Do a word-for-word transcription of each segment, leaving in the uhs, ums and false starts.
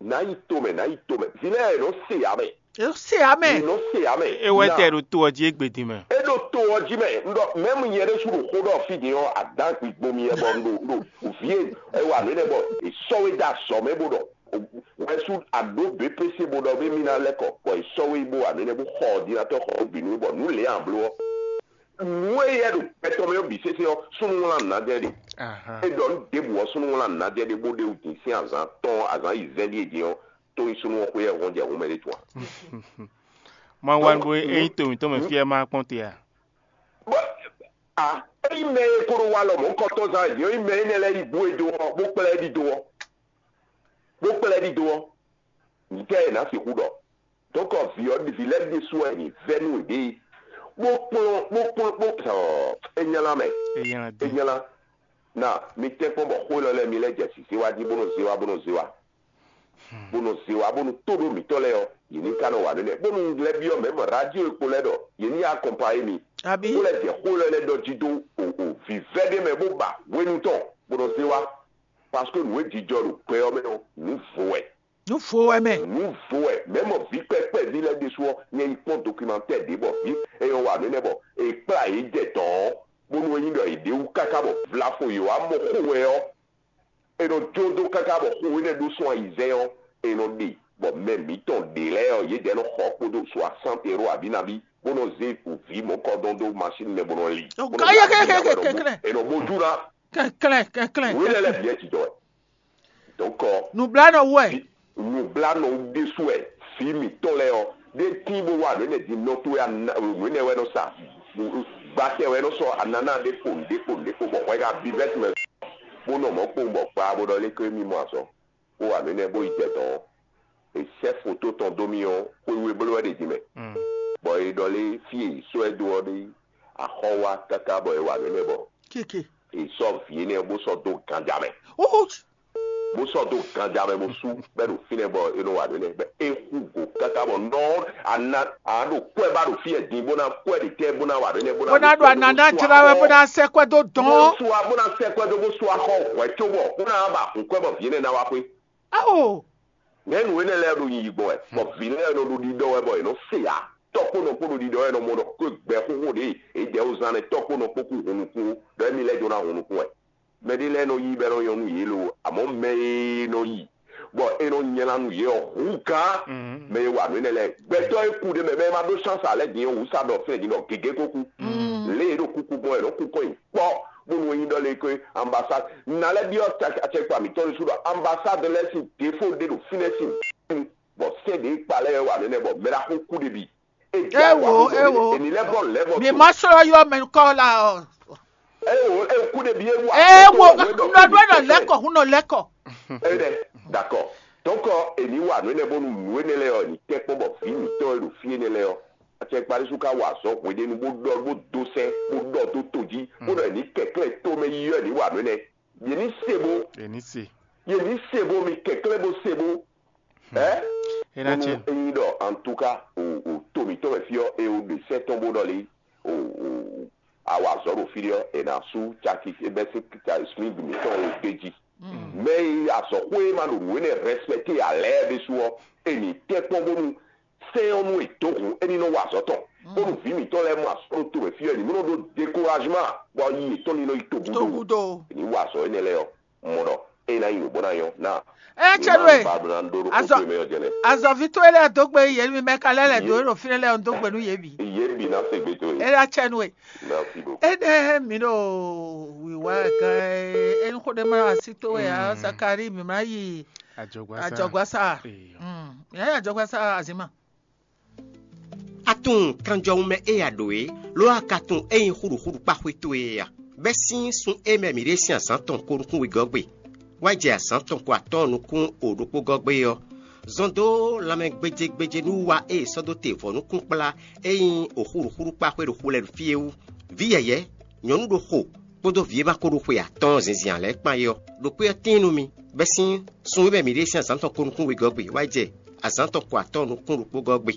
Nǎ yi tomɛ, nǎ yi tomɛ. Vǐ lɛ́ɛ è nɔ se ǎ mɛ. È nɔ se ǎ mɛ. È nɔ se ǎ mɛ. É wɛ tɛ ɖo to ɔ́ jí égbé din mɛ. É ɖo to ɔ́ jí mɛ. Un ɖɔ mɛ̌mu nyɛ ɖésú ɖo xó ɖɔ fí din ɔ́, adǎn gbigbo mi wɛ bɔ un ɖo un ɖo vǐ e è wa nǔ énɛ́ bɔ è sɔ́ we dó azɔ̌ mɛ bó ɖɔ wɛ́sú aɖǒ běpése bó ɖɔ bé mí ná lɛ́ kɔ, bɔ è sɔ́ we yi bó wa nǔ énɛ́ bó xɔ ɔ̌dinatɔ́ xɔ bǐ nú bɔ nǔ lě a bló ɔ́. Nǔ e yɛ ɖo gbɛtɔ́ mɛ ɔ́ bǐ sésé ɔ́, súnnu wlán nǔ ná jɛ ɖe. É ɖɔ nǔ ɖěbǔ ɔ́, súnnu wlán nǔ ná jɛ ɖe bó ɖe wǔ din sín azǎn tɔn, azǎn yi zɛ́n ɖíe din ɔ́, tó nyí súnnu ɔ́ xwé yɛ hɔn jɛ hǔn mɛ ɖé tún a? Ma wa nú bó é nyí to mǐtɔn mɛ fí ɛ ma kpɔ́n te a? Bó a ényí mɛ e ko ɖo wa lɔ mɔ̌hunkɔtɔn zán wɛ din ɔ́, ényí mɛ énɛ́ lɛ́ɛ yi bú e dó ɔ́, bó kplá ɛ ɖidó ɔ́, bó kplá ɛ ɖidó ɔ́, nǔtɛ́ e nǎ sixú ɖɔ? Dɔ̌nkɔ vǐ ɔ́, vǐ lɛ́ɛ ɖésú wɛ è nǐ vɛ́ nú yěɖée, bó kplɔ́n bó kplɔ́n bó ɔ, é nylá mɛ. É nylá dín. É nylá. Na mi tɛ́nkpɔ́n bɔ xó élɔ́ lɛ́ɛ mi lɛ́ jɛ sǐsé wá jí bó nɔ zé wá bó nɔ zé wá, bó nɔ zé wá bónú tó ɖó mǐtɔn lɛ́ɛ ɔ́, yě ní ka nɔ wa nǔ nɛ́. Bónú un lɛ́ byɔ́ mɛ mɔ radio e kpo lɛ́ɛ ɖɔ yě ní akɔnpayé mi. Abǐ bó lɛ́ jɛ xó élɔ́ lɛ́ɛ ɖɔ jí dó o o vǐvɛ́ ɖé mɛ bó ba hwenu tɔn bó nɔ zé wá, parce que nǔ e jijɔ ɖo gbɛ ɔ́ mɛ ɔ́, nǔ vo wɛ. Nǔ vo wɛ mɛ. Nǔ vo wɛ. Mɛ̌ mɔ vǐ kpɛ́kpɛ́ví lɛ́ɛ ɖésú ɔ́, nyɛ yi kpɔ́n dokumantɛ́ ɖě bɔ vǐ e nyɔ́ wa nǔ énɛ́ bɔ è kplá yě jɛ dɔ̌n ɔ́, bónú é nyí ɖɔ è ɖě wú káká bɔ vlafo yě wá mɔ xó wɛ ɔ́, è nɔ jó dó káká bɔ xó énɛ́ ɖó sún ayizɛ́n ɔ́, è nɔ ɖe bɔ mɛ mǐtɔn ɖě lɛ́ɛ ɔ́, yědɛɛ nɔ xɔ kpódó soixante euros abǐ nabí, bó nɔ zé vǐ mɔ̌kɔdɔn dó masín mɛ bó nɔ li. Ɔ, bó nɔ ká yɛ yá kɛkɛ kɛkɛ kɛkɛ. È nɔ bó jú ná. Kɛklɛ́ kɛklɛ́. Wě lɛ́ lɛ́ bǐ wɛ jǐjɔ wɛ. Donc, Nǔblanɔ wú wɛ. Nǔblanɔ ɖésú wɛ vǐ mǐtɔn lɛ́ɛ ɔ́, ɖé tín bó wá nǔ énɛ́ din nɔ towe, nǔ énɛ́ wɛ nɔ sa, gbatɛ wɛ nɔ sɔ́ anana ɖé kpo nǔɖé kpo nǔɖé kpo bɔ hwɛ ka bí vɛ́si mɛ, bó nɔ mɔ̌ kpowun bɔ kpaa bó ɖɔ lé ké mì mɔ azɔn, bó wá nǔ énɛ́ bó yi jɛ dɔ̌n ɔ́, è sɛ́ foto tɔn dó mì ɔ́, xwé we bló wɛ ɖe din mɛ, bɔ è ɖɔ lé fí e è sɔ́ ɛ dó ɔ́ ɖé, axɔ́ wá káká bɔ è wá nǔ énɛ́ bɔ Keke. È sɔ́ vǐ énɛ́ ɔ́ bó sɔ́ dó ganja mɛ. Bó sɔ́ dó ganja mɛ bó sú bɛ́ ɖo fínɛ́ bɔ é nɔ wa nǔ énɛ́ bɛ́ é xú go káká bɔ nɔ ana a ɖo kwɛ ba ɖo fí ɛ din bó ná kwɛ ɖe tɛ́ bó ná wa nǔ énɛ́ bó ná Bó ná ɖo anana jlá wɛ bó ná sɛ́ kwɛ́ dó dɔn. Bó sú a bó ná sɛ́ kwɛ́ dó bó sú axɔ hwɛ̌ cóbɔ bó ná ba hun kwɛ́ bɔ vǐ énɛ́ ná wá xwé. Ao. Nɛ̌ nǔ énɛ́ lɛ́ɛ ɖo yiyi gbɔn wɛ, bɔ vǐ lɛ́ɛ nɔ ɖo ɖiɖɔ wɛ bɔ è nɔ se ǎ? Tɔ́ kpó nɔ kpó ɖo ɖiɖɔ wɛ nɔ mɔ ɖɔ xwé gbɛxóxó ɖě e jɛ wozán nɛ́ tɔ́ kpó nɔ kpó kú hun nukún ó, ɖɔ émí lɛ́ jló ná hun nukún wɛ. Mɛ ɖé lɛ́ɛ nɔ yí bɔ é nɔ nyɔ́ nú yě lo, amɔ̌ mɛ e nɔ yi bɔ é nɔ nylá nú yě ɔ́ hú gán. Mɛ e wa nǔ énɛ́ lɛ́ɛ, gbɛtɔ́ e kú ɖ'é mɛ, mɛ e ma ɖó chance ǎ lɛ́ɛ din ɔ́, wǔ sa ɖɔ fínɛ́ din ɖɔ gěgé ko kú. Lě e é ɖo kúkú gbɔn wɛ é nɔ kú kɔn nyi kpɔ́, bónú é nyí ɖɔ lé ko ambassade. Nǎ lɛ́ byɔ́ acɛkpa mǐtɔn ɖésú ɖɔ ambassade lɛ́ɛ sín défo ɖé ɖo fínɛ́ sín bɔ sɛ́n ɖě kpa lɛ́ɛ wɛ wa nɛnɛ bɔ mɛ ɖaxó kú ɖé bǐ. Éwo, éwo. Èmi lɛ́ bɔ lɛ́ bɔ Mi ma sɔ́ yɔ mɛ kɔ la ɔ. Éwo, é kú ɖé bǐ é wa. Éwo, nɔ ɖɔ nɔ lɛkɔ, hun nɔ lɛkɔ. Éɖɛ, d'accord. Donc, èmi wa nǔ énɛ́ bónú nǔ énɛ́ lɛ́ɛ ɔ́, èmi tɛ́ kpɔ́n bɔ vǐ mǐtɔn e ɖo fí énɛ́ lɛ́ɛ ɔ́, acɛkpaɖésú ka wa azɔ̌ hweɖénu bó ɖɔ bó dó sɛ́ bó ɖɔ dó to jí bó ɖɔ èmi kɛ̀klɛ́ to mɛ yi ɔ́, èmi wa nǔ énɛ́. Yě ní se bó. Yě ní se. Yě ní se bó, mi kɛ̀klɛ́ bó se bó. Ɛ? É ná Bónú tiɛ. Ényí ɖɔ antúká o o to mǐtɔn wɛ fí ɔ́, e o ɖe sɛ́ tɔn bó ɖɔ lé o o a wa azɔ̌ ɖo fí ɖé ɔ́, è nǎ sú caki bɛ́ sín smig mǐtɔn o d'é jí. Mɛ e azɔ̌xwé e ma ɖo nǔ énɛ́ rɛspɛkté ǎ lɛ́ɛ ɖésú ɔ́, è nǐ tɛ́ kpɔ́n bónú sɛ́n ɔ́ nú è dǒ hun é ní nɔ wa azɔ̌ tɔn. Bónú vǐ mǐtɔn lɛ́ɛ mɔ azɔ̌ ɖo to mɛ fí ɔ́, è ní mɔ nɔ ɖó dékouragement bɔ yi yětɔn ní nɔ yi togúdo. Togúdo. È ní wa azɔ̌ énɛ́ lɛ́ɛ ɔ́. Mɔ ɖɔ é ná nyi nǔ bó ná nyɔ́ ná. Ɛ cɛ nú e. Azɔ azɔvi towe lɛ dó gbe yě mi mɛ ka lɛ lɛ dó ɖo fi lɛ lɛ dó gbe nú yě bǐ. Yě bǐ ná se gbe towe. É ná cɛ nú e. Merci beaucoup. Énɛ́ mi ɖo wǐwá gán é, é xó ɖé má asi towe ǎ, Zakari mi má yi Ajɔgbasa. Ajɔgbasa. Ee. Mm. Yě á yi Ajɔgbasa azima. A tunwun kanjɔwun mɛ e a ɖǒ é, lo a ka tunwun ényí xúɖuxúɖu kpá xwé towe é a? Bɛ́ sín sun e mɛ mǐ ɖe sín azǎn tɔn ko nukún wegɔ́ gbe, wá jɛ azǎn tɔn ko atɔ́ɔ́n nukún o ɖokpó gɔ́ gbe ɔ́, zɔn dó lanmɛ gbéjégbéjé nú wa e è sɔ́ dó te vɔ̌ nukún kplá e nyí o xúɖuxúɖu kpá xwé ɖo xu lɛ́ɛ fí é wú. Vǐ yɛ̌yɛ́, nyɔ̌nu ɖo xo kpódó vǐ e ma ko ɖo xwe atɔ́ɔ́n zinzin ǎ lɛ́ɛ kpán é ɔ́, ɖo kpé ɔ́ tíin nú mi, bɛ́ sín sun e mɛ mǐ ɖe sín azǎn tɔn ko nukún wegɔ́ gbe wá jɛ azǎn tɔn ko atɔ́ɔ́n nukún ɖokpó gɔ́ gbe,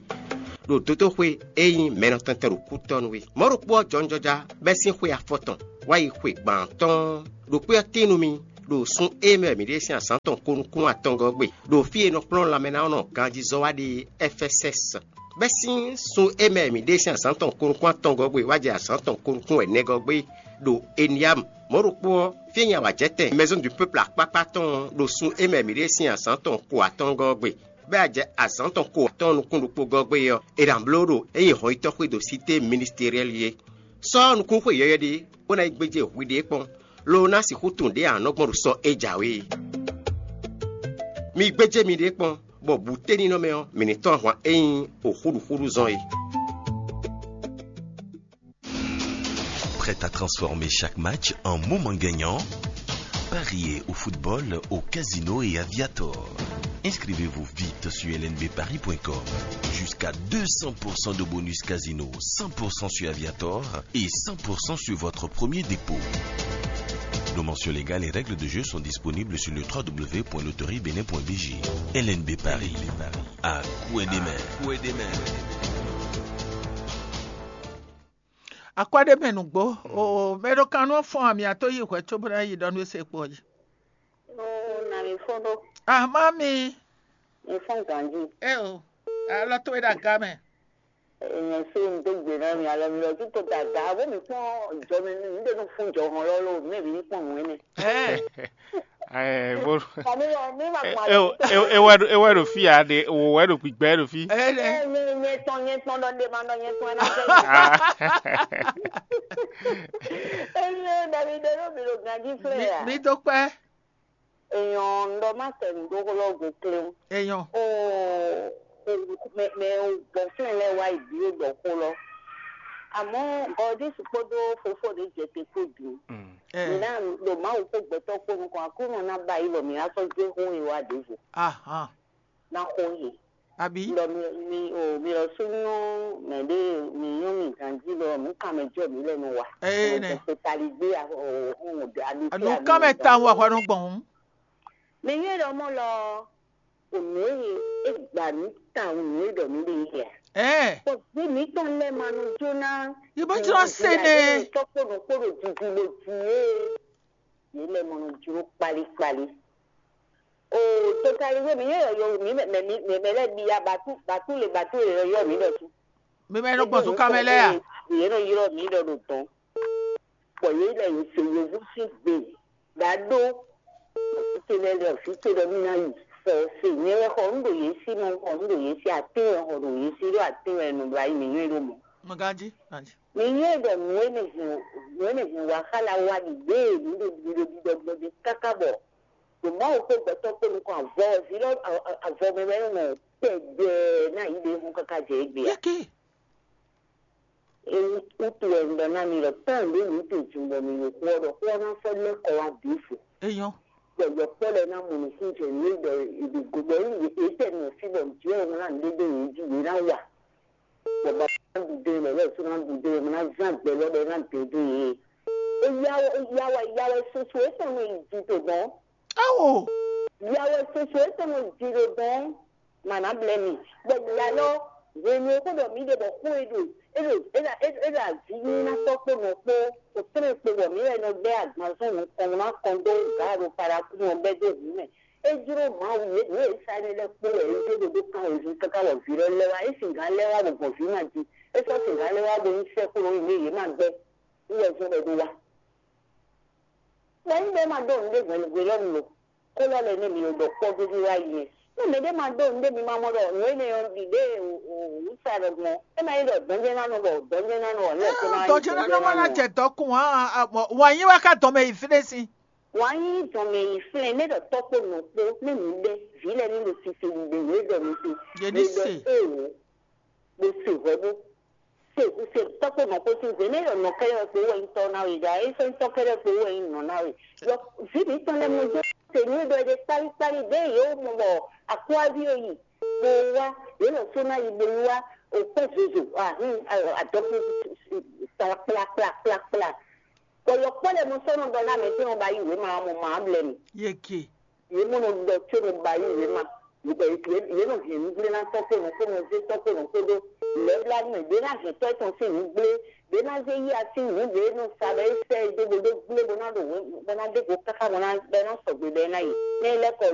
ɖo dódóxwé e nyí mɛ nɔ tɛntɛn ɖo kútɔ́ nú é. Mɔ̌ ɖokpó ɔ́ jɔnjɔja bɛ́ sín xwe afɔtɔn wá yi xwe gbǎn tɔn ɖo kpé ɔ́ tíin nú mi, ɖo sun e mɛ mǐ ɖe sín azǎn tɔn ko nukún atɔngɔ́ gbe, ɖo fí e nɔ kplɔ́n lanmɛnánɔ ganjízɔ́ wá ɖe Ɛfɛsɛ́s. Bɛ́ sín sun e mɛ mǐ ɖe sín azǎn tɔn ko nukún atɔngɔ́ gbe wá jɛ azǎn tɔn ko nukún ɛnɛgɔ́ gbe ɖo Eniyamu. Mɔ̌ ɖokpó ɔ́, fí e nyi awǎjɛtɛn Maison du Peuple akpákpá tɔn ɔ́, ɖo sun e mɛ mǐ ɖe sín azǎn tɔn ko atɔngɔ́ gbe, bɔ a jɛ azǎn tɔn ko atɔ́ɔ́n nukún ɖokpó gɔ́ gbé ɔ́, è nǎ bló ɖo é nyí hɔnyitɔ́ xwé ɖo Sité Ministeriɛ́li é. Sɔ́ nukúnxwe yɔywɛ ɖé, bó ná yi gbéjé hwiɖée kpɔ́n, lo ná sixú tunwun ɖě a nɔ gbɔn ɖo sɔ́ é jǎwe é. Mi gbéjé miɖée kpɔ́n, bɔ bǔténinɔmɛ ɔ́, mǐ ní tɔ́n ahwan e nyí oxúɖuxúɖu zɔn é. Prête à transformer chaque match en moment gagnant? Pariez au football, au casino et à Viator. Inscrivez-vous vite sur L N B paris point com. Jusqu'à deux cents pour cent de bonus casino, cent pour cent sur Aviator et cent pour cent sur votre premier dépôt. Nos mentions légales et règles de jeu sont disponibles sur le trois W point loterie bénin point B G. L N B Paris, à coup et des mains. Akwɛ́ ɖé mɛ nǔgbó o, mɛ ɖo kan nú fɔ́n amyatɔ́ yi hwɛ cóbó ná yi ɖɔ nú é se kpo ɔ́ jí. Ó na mi fɔ́n ɖó, Ah, mami, mi fɔ́n ganji. É o, alɔ towe ɖo aga mɛ. Èèyàn ṣe ń dó gbè náà mi alɔ mi lọ títò dàgbà bó mi pọ́n jọ mi mi dé nù fún jọ hàn lọ́lọ́ mi mi pọ́n nù ẹni. Ɛ, Ɛ, bó- Kàmí lọ mi ma gbọ́n ewɛ ɖo- ewɛ ɖo fi ya ɖe wò wɛ ɖo gbigbɛ ɖo fi. Ɛ, nɛ. Nyɛ tɔn nyɛ tɔn ɖɔ ɖe ma nɔ nyɛ tɔn ɛna fẹ́. Ah. Eye dàbí dé ló mi lò ganji flɛ Mi- ya. Mi do kpɛ. Èèyàn ń lọ má tẹ̀ ń dókòló gòkèlè o. Èèyàn. O mɛ mɛ o gbɔn fún ẹ lẹ wá ìdí ó dọ̀ kó lọ. Àmọ́ ọdún sì kpódó fofó rẹ̀ jẹ te kó dùn. Mm. Ɛ, Nìyá ló máa wò kó gbẹtọ́ kó nukun akúnmọ̀ náà bá yìí lọ mí á sọ gbé hún ìwà àdéhùn ahan. náà kó yìí. Àbí? Lọ mi mi o mi lọ súnú mɛ ɖé mi nyɔ́ mi ganjí lɔ mú kàmɛ jɔ mi lɛnu wa. Ɛ, nɛ. Tali gbé ohun àbí tí Àdó kámɛ ta wà hwa nɔ gbɔn. Mi nyɔ́ lɔ mɔ lɔ ònú èyí é gbà mí ta ònú é dɔ mí lè yẹ. Ɛ, Pɔ bí mi tɔn lɛ ma nu jóná. Yìí bá jọ se nɛ. Tɔkpɔnɔ kpɔnɔ didi le dzi é. Yìí lɛ mɔ nu jó kpalikpali. O totali wé mi yɛ yɔ mi mɛ mi mɛ lɛ bi ya batu batu le batu le yɔ mi dɔ tu. Mi mɛ nɔ gbɔn tó kámɛ lɛ ya. Yìí nɔ yɔ mi dɔ do tɔn. Pɔ yìí lɛ yìí se yevu si gbe. Dado. Fite lɛ lɛ fite dɔ mi na yi. Sɔ se nyɛ wɛ xɔ nu do yìí si mɔ xɔ nu do yìí si atin wɛ xɔ do yìí si do atin wɛ nu do ayi mi nyɛ do mɔ. Mo ganji, ganji. Mi nyɛ dɔ nu ene hin nu ene hin wa xala wa di gbe mi do mi do di dɔ gbɔ de kaka bɔ. Do Mawu kpó gbɛtɔ kpó nukɔn avɔ zi lɔ avɔ mi wɛ nɔ tɛgbɛ na yi de hun kaka jɛ egbe ya. Yeke. Ewu kutu wɛ ŋdɔ na mi lɔ tɔn ɖe mi te dun bɔ mi yo xɔ ɖɔ xɔ na fɔ lɛ kɔ wa bi fo. Èèyàn. Bɔ yɔkpɔ lɛ na mɔ nukun jɛ mi dɔ ebi go bɔ yi etɛ nɔ fi bɔ jɛ ŋu na mi de yi ji yi na wa. Bɔ ba na du de lɛ lɛ so na du de na zan gbɛ lɔ bɛ na de de yi. Eyawo eyawo eyawo soso etɔn nɔ yi di to gbɔn. Awo. Yawo soso etɔn nɔ di ɖo gbɔn mana blɛ mi. Bɔ ya lɔ hwenu e xó ɖɔ mi ɖe bɔ xó e ɖo e ɖo e ɖo e ɖo e ɖo avi nyi na tɔ kpo nɔ kpo o tlɛ kpo bɔ mi wɛ nɔ bɛ agbanzɔn nukɔn na kɔn do ga ɖo paraku nɔ bɛ do hu mɛ. E jlo Mawu ye nu e sa ne lɛ kpo wɛ e jlo ɖo kan o vi kaka wɔ vi lɔ lɛ wa e sin gan lɛ wa bɔ gbɔn vi ma di e sɔ sin gan lɛ wa bo nyi sɛ kpo nɔ yi ne ye ma gbɛ. Wɔ zɔn ɖe ɖo wa. Bɔ nyí ɖe ma ɖo nu ɖe hwenu hwe lɔ nu lo. Kó lɔ lɛ ne mi ɖɔ kpɔ gbégbé wá yi nɛ. Ne mɛ ɖe ma ɖo nu ɖe mi ma mɔ ɖɔ nu énɛ́ ɔ́ ɖi ɖe wǔ sa ɖɔ gbɔn. É ma nyí ɖɔ dɔnjɛ na nɔ bɔ dɔnjɛ na nɔ wɔ ní ɛkó na Dɔjɛ na nɔ ma na jɛ dɔ kun hã. Wà yín wá ká dɔmɛ yi fi ɖé si. Wà á nyí dɔmɛ yi flɛ ne ɖɔ tɔkpo nɔ kpó ne mi ɖe vi lɛ ní lo sisi ɖe wò ɖɔ mi si. Yé ní se. Ewo. Bó se hwɛ bó se se tɔkpo nɔ kpó si zé ne ɖɔ nɔ kɛlɛ kpó wɛ nyí tɔ na wɛ ja é sɛ tɔ kɛlɛ kpó wɛ nyí nɔ na wɛ. Yɔ vi mi tɔn lɛ mo jɛ se ní ɖɔ ɖe kpali kpali ɖe yě wò mɔ bɔ akɔ́aví yóò yi. Bo wá yě lɔ só ná yi bo yi wá òkpɛ zozo ahin adɔkun kpla kpla kpla kpla. Bɔ yɔkpɔ lɛ mo sɔnɔ dɔ na mɛ tɛ mo ba yi wema mo ma blɛ mi. Yeke. Yě mo nɔ dɔ tso mo ba yi wema. Yě nɔ hɛn nǔgblé ná tɔ́ kpó nɔ kpó nɔ zé tɔ́ kpó nɔ kpó ɖó lɛ̌bláɖí mɛ, ɖě ná hɛn tɔ́ tɔn sín nǔgblé, ɖě ná zé yí así nǔ ɖě nɔ sa bɔ é sɛ é dó bó dó gblé bó ná ɖo bó ná ɖó go káká bó ná bɔ é ná sɔgbe bɔ é ná yi. Nɛ é lɛ́ kɔ